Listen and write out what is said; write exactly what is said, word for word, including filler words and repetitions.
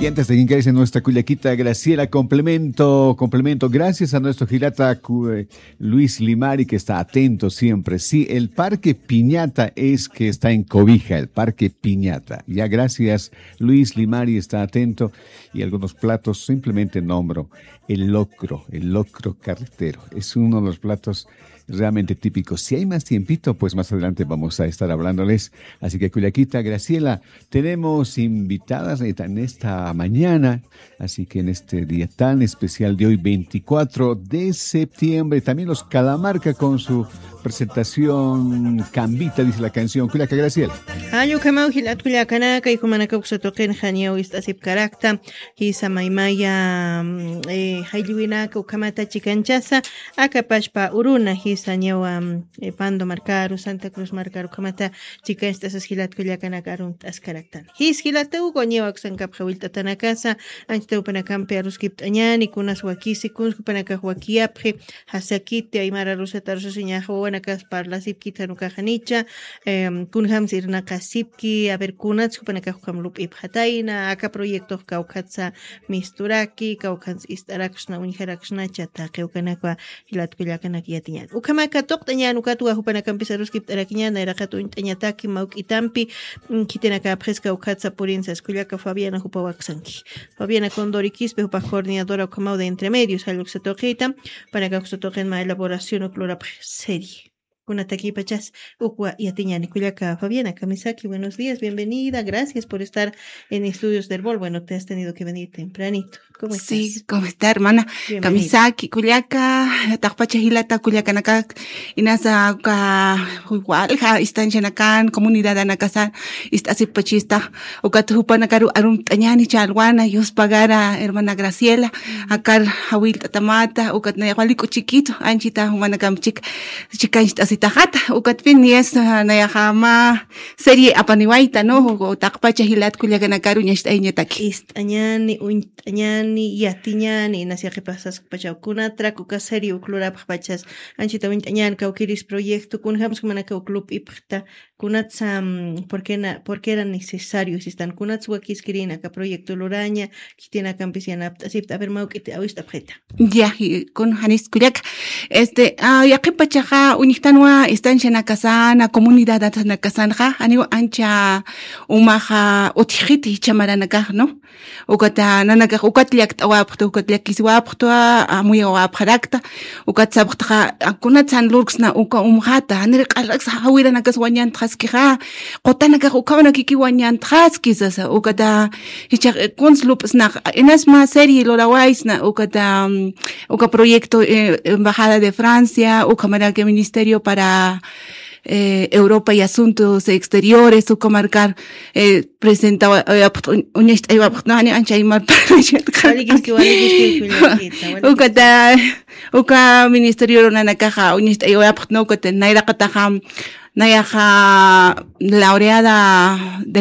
Y antes de que ingrese nuestra cullaquita Graciela, complemento, complemento. Gracias a nuestro jilata cu- eh, Luis Limari, que está atento siempre. Sí, el Parque Piñata es que está en Cobija, el Parque Piñata. Ya, gracias, Luis Limari está atento. Y algunos platos, simplemente nombro el locro, el locro carretero. Es uno de los platos realmente típicos. Si hay más tiempito, pues más adelante vamos a estar hablándoles. Así que, cullaquita Graciela, tenemos invitadas en esta mañana, así que en este día tan especial de hoy, veinticuatro de septiembre, también los Calamarca con su presentación Cambita, dice la canción. Cullaca Graciela. Jall ukhamaw jilat kullakanaka, jumanaka uksa tuqinxa niyaw ist'asipkarakta, jisa maymaya, mm, eh, jallwinaka ukhamata chikanchasa, aka pachpa uruna, jisa niyawa, mm, eh, Pando markaru, Santa Cruz markaru ukhamata chikancht'asas jilat kullakanaka arunt'askaraktan. Jis jilata uka niyaw aksankapxa willt'atanakasa, anchita jupanakampi aruskipt'añäni, kunas wakisi, kuns jupanakax wakiyapxi, jasakiti, aymara arusata arusasiñaxa, wawanakas parlasipkit jan ukaxa janicha, em, kunjams irnaqasipki, a ver, kunats jupanakax ukham lup'ipxatayna, aka proyectox kawkhatsa misturaki, kawkhans ist'araksna, uñjaraksnacha, taqi ukanakwa jilat kullakanak yatiñän. Ukhamaka tuqt'añän, ukatwa jupanakampis aruskipt'arakiñän, nayraqat uñt'añataki mawk'itampi, mm, khitinakapxis kawkhatsa purinsas kullaka Fabiana jupawaksanki. Fabiana Condori Quispe, jupax coordinadora ukhamaw de Entre Medios, jall uksa tuqita, jupanakax uksa tuqin mä elaboración uk lurapxi serie. Kunatakipachas ukwa yatiñäni. Kullaka Fabiana, kamisaki, buenos días, bienvenida, gracias por estar en Estudios del Bol. Bueno, te has tenido que venir tempranito. ¿Cómo estás? Sí, ¿cómo está, hermana? Bienvenida. Kamisaki, kullaka, taqpacha jilata kullakanaka, inasa uka, walja, istanchanakan, comunidadanakasan, ist'asipachista, ukat jupanakaru arunt'añäni challwana, yuspagara, hermana Graciela, akar jawillt'atamata, ukat nayax wali k'uchikitu, anchita jumanakamp chik, chikancht'asitaxata, ukatpin niyas, ah, nayaxa mä serie apaniwayta, ¿no? Taqpacha jilat kullakanakaru uñacht'ayañataki. Ist'añäni, uñt'añäni, yatiñäni, inas yaqhipasaskpachaw kunatrak uka serie uk lurapxpachas, anchita uñt'añäni kawkïris proyecto, kunjams jumanaka uk lup'ipxta, kunatsa, mm, por qué na-, por qué era necesario, sistan, kunats wakiskirïna aka proyecto luraña, khitinakampis yanapt'asipta, a ver, mawk'iti awist'apxita. Ya, y kun janis kullaka. Este, ah, yaqhipachaxa, uñjtanwa, istanchanakasana, comunidadanakasanxa, janiw ancha umaxa utjxiti jichha maranakax, ¿no? Ukata, nanakax ukat llakt'awapxta, ukat llakisiwapxta, amuyawapxarakta, ukat sapxtaxa, a, kunatsan lurksna uka umxata, janir q'alraksa jawiranakas wañantxaskixa, qutanakax ukhamanakiki wañantxaski sasa, ukata, jichhax, eh, kuns lup'snax, inas mä serie lurawaysna, ukata, mm, uka proyecto, eh, Embajada de Francia, ukhamaraki Ministerio para, eh, Europa y Asuntos Exteriores, uka markar, eh, presentawa, eh, apxt-, uñ-, uñacht'aywapxtna, jani ancha aymar parlashat. Walikiski, walikiski, kullakita, walikiski. Ukata, uka ministerio nanakaxa uñacht'aywapxtna, ukata nayraqataxa, nayaxa laureada de